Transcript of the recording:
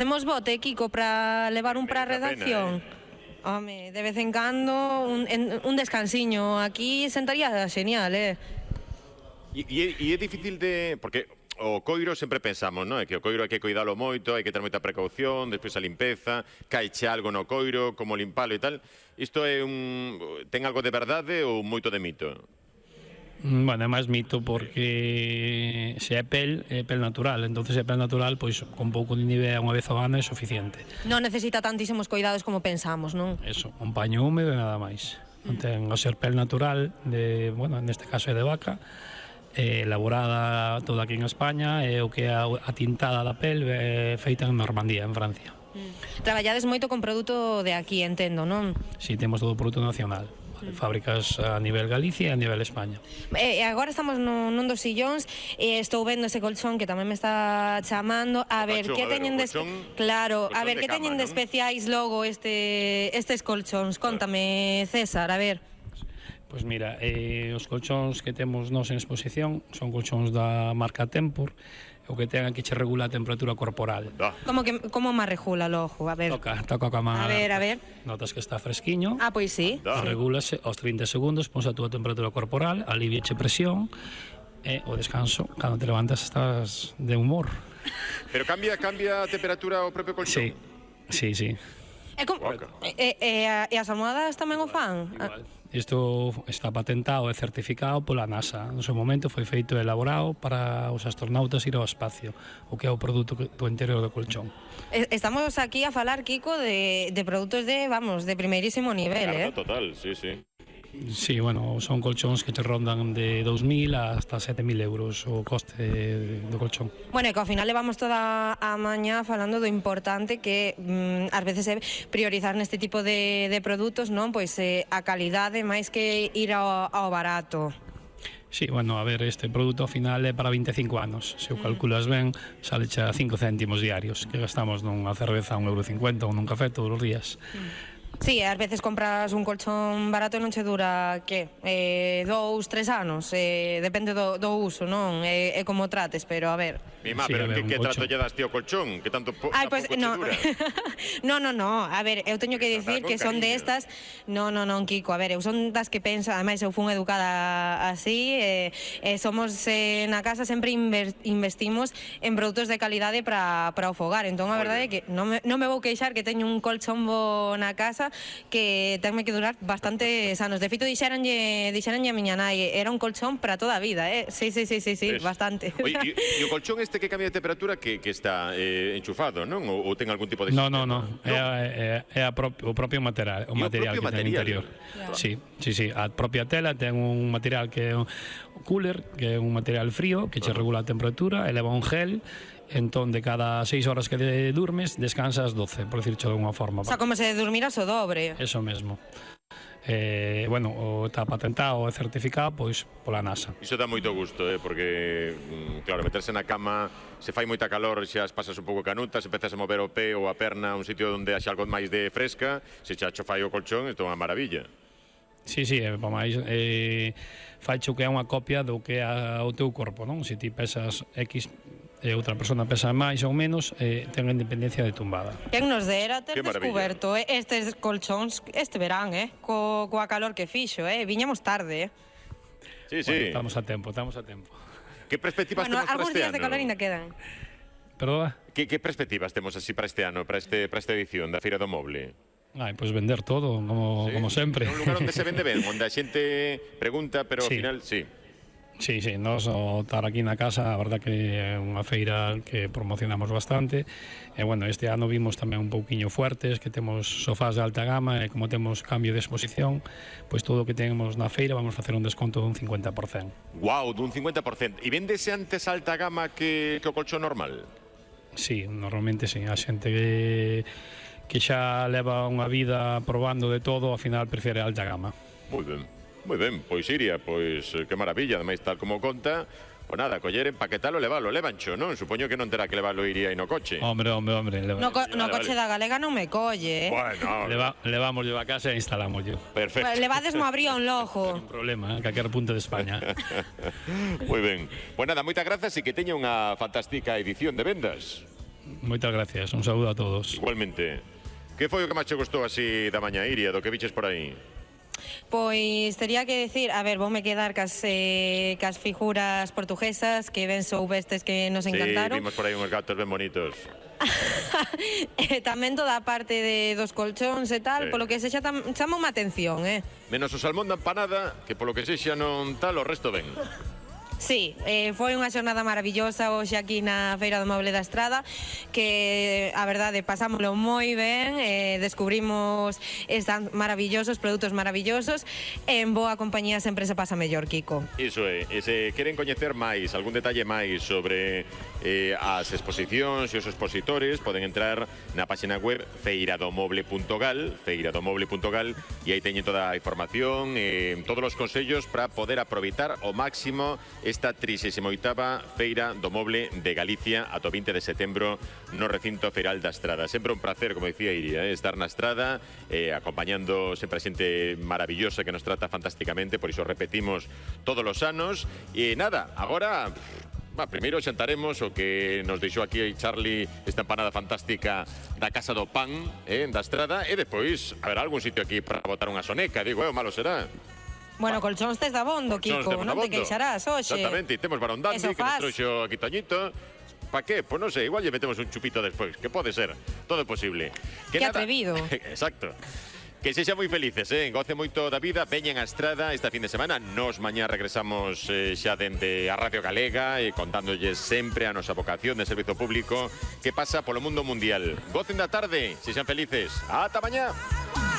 Temos bote, Kiko, para levar un para a redacción? Home, de vez en cando un descansiño aquí sentaría genial, E é difícil de... Porque o coiro sempre pensamos, non? É que o coiro hai que cuidalo moito, hai que ter moita precaución, despois a limpeza, caiche algo no coiro, como limpalo e tal. Isto é ten algo de verdade ou moito de mito? Bueno, é máis mito porque se é pel natural, entonces é pel natural, pois con pouco de nieve unha vez ao ano é suficiente. Non necesita tantísimos cuidados como pensamos, non? Eso, un paño húmedo e nada máis. Non ten o ser pel natural, bueno, neste caso é de vaca, elaborada toda aquí en España, e o que é a tintada da pel feita en Normandía, en Francia. Traballades moito con produto de aquí, entendo, non? Si, temos todo o produto nacional. Fábricas a nivel Galicia e a nivel España. Agora estamos nun dos sillóns e estou vendo ese colchón que tamén me está chamando. A ver, que teñen de especiais logo estes colchóns? Cóntame, César, a ver. Pois mira, os colchóns que temos nós en exposición son colchóns da marca Tempur. O que ten aquí che regula a temperatura corporal. Como má regula logo? A ver. Toca coa man. A ver. Notas que está fresquiño. Ah, pois sí. Regúlase aos 30 segundos, pons a túa temperatura corporal, aliviache presión, e o descanso, cando te levantas estás de humor. Pero cambia a temperatura o propio colchón? Sí. E as almohadas tamén o fan? Igual. Isto está patentado e certificado pola NASA. No seu momento foi feito e elaborado para os astronautas ir ao espacio, o que é o produto do interior do colchón. Estamos aquí a falar, Kiko, de produtos de primeirísimo nivel, claro, total, sí. Sí, bueno, son colchóns que te rondan de 2.000 hasta 7.000 euros o coste do colchón. Bueno, e que ao final levamos toda a mañá falando do importante que ás veces é priorizar neste tipo de produtos, non? Pois a calidade máis que ir ao barato. Sí, bueno, a ver, este produto ao final é para 25 anos. Se o calculas ben, sale xa 5 céntimos diarios, que gastamos nunha cerveza a 1,50 € ou nun café todos os días. Sí, ás veces compras un colchón barato e non che dura, 2, 3 anos, depende do uso, non? É como trates, pero a ver... Mima, pero que trato lle das tío colchón? Que tanto pouco che dura? No, a ver, eu teño que dicir que son destas... Non, Kiko, a ver, eu son das que pensa, ademais eu fun educada así, somos na casa sempre investimos en produtos de calidade para o fogar, entón a verdade é que non me vou queixar que teño un colchón bo na casa que tenme que durar bastantes anos. De feito, dixeranlle a miña nai, era un colchón para toda a vida, Sí, bastante. Oye, e o colchón este que cambia de temperatura que está enchufado, non? Ou ten algún tipo de... No. É o propio material, o material que ten no interior. Sí. A propia tela ten un material que é un cooler, que é un material frío, que che regula a temperatura, eleva un gel. Entón, de cada 6 horas que durmes, descansas 12, por dicircho de alguna forma. O sea, como se durmiras o dobre. Eso mesmo. Bueno, está patentado e certificado pois pola NASA. Iso dá moito gusto, porque claro, meterse na cama, se fai moita calor, xa pasas un pouco canutas, empezas a mover o pé ou a perna a un sitio onde haxa algo máis de fresca, se xa fai o colchón, isto é unha maravilla. Sí, para máis faicho que é unha copia do que é o teu corpo, non? Se ti pesas X e outra persona pesa máis ou menos, ten a independencia de tumbada. Quen nos dera ter descuberto estes colchóns este verán, coa calor que fixo, viñamos tarde, Sí. Bueno, estamos a tempo. Que perspectivas temos para este ano? Algúns días de calor ainda quedan. Perdona? Que perspectivas temos así para este ano, para esta edición da Feira do Moble? Pois vender todo, como sempre. É un lugar onde se vende ben, onde a xente pregunta, pero ao final, sí. Sí, nos o estar aquí na casa, a verdad que é unha feira que promocionamos bastante. E bueno, este ano vimos tamén un pouquiño fuertes, que temos sofás de alta gama e como temos cambio de exposición, pois todo o que temos na feira vamos facer un desconto dun 50%. Guau, dun 50%. E vendese antes alta gama que o colchón normal? Sí, normalmente sí. A xente que xa leva unha vida probando de todo, ao final prefere alta gama. Moi ben, pois Iria, pois que maravilla, ademais tal como conta, pois nada, coller, empaquetalo, levancho, non? Supoño que non terá que levalo Iria no coche. Hombre. No coche da Galega non me colle, Bueno, levámoslo a casa e instalámoslo. Perfecto. Levades mo abrión logo. Non problema, a calquer punto de España. Moi ben. Pois nada, moitas grazas e que teña unha fantástica edición de vendas. Moitas gracias, un saúdo a todos. Igualmente. Que foi o que máis che gostou así da mañá, Iria, do que viches por aí? Pois tería que decir, a ver, voume quedar cas figuras portuguesas que ben soubestes que nos encantaron. Sí, vimos por aí uns gatos ben bonitos. Tamén toda a parte dos colchóns e tal, polo que sexa chama unha atención, Menos o salmón da empanada, que polo que sexa non tal, o resto ben. Sí, foi unha xornada maravillosa hoxe aquí na Feira do Moble da Estrada, que a verdade pasámoslo moi ben, descubrimos estos maravillosos produtos maravillosos, en boa compañía sempre se pasa mellor, Kiko. Iso é, e se queren coñecer máis, algún detalle máis sobre as exposicións e os expositores, poden entrar na página web feiradomoble.gal, e aí teñen toda a información, todos os consellos para poder aproveitar ao máximo esta 38ª Feira do Moble de Galicia ata o 20 de setembro no recinto feiral da Estrada. Sempre un placer, como dicía Iria, estar na Estrada, acompañando sempre a xente maravillosa que nos trata fantásticamente, por iso repetimos todos os anos. E nada, agora... primeiro xantaremos o que nos deixou aquí Charlie, esta empanada fantástica da Casa do Pan, da Estrada, e depois haberá algún sitio aquí para botar unha soneca, digo, o malo será. Bueno, colchóns tes da bondo, Kiko, non te queixarás hoxe. Exactamente, temos Barondandi, que nos trouxo aquí Toñito. Pa qué? Pois non sei, igual lle metemos un chupito despois, que pode ser, todo é posible. Que atrevido. Exacto. Que sexan moi felices, goce moito da vida, veñen a Estrada esta fin de semana. Nos mañá regresamos xa dende a Radio Galega e contándolles sempre a nosa vocación de servizo público que pasa polo mundo mundial. Gocen da tarde, sexan felices. Ata mañá.